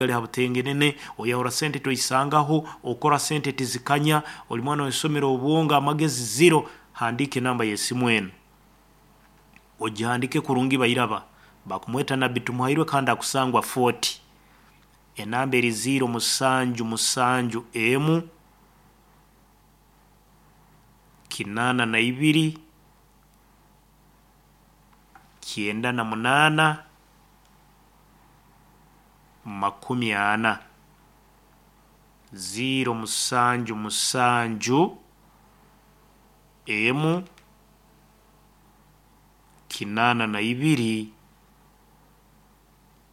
Gali ha butengenene, oyahura sente toisangaho, okora sente tizikanya, oli mwana w'isomero obwongo amagezi zero. Handiika enamba y'esimu enu, ogihandiike kurungi. Bairaba bakumweta Nabbi Tumuhairwe kandi akusangwa Fort. Enamba eri 0771 82 98 40. 0771 82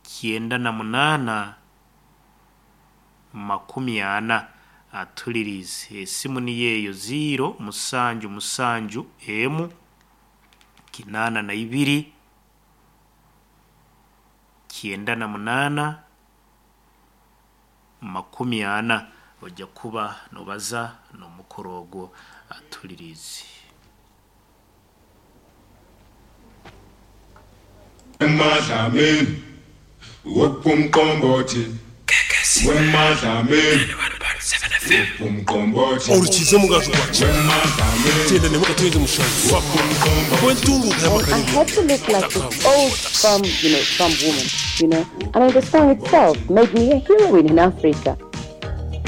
98 40. Atulirize, esimu niyo eyo, 0771 82 98 40. Ojja kuba nobaza n'omukuru ogwo. Atulirize. Emadlamini wopumqombothi, wemadlamini wopumqombothi. Orukiza omugaju gwa Kibi. Wemadlamini Tenda nemu 7 wopumqombothi. And I had to look like this old farm, farm woman. I mean, the song itself made me a heroine in Africa.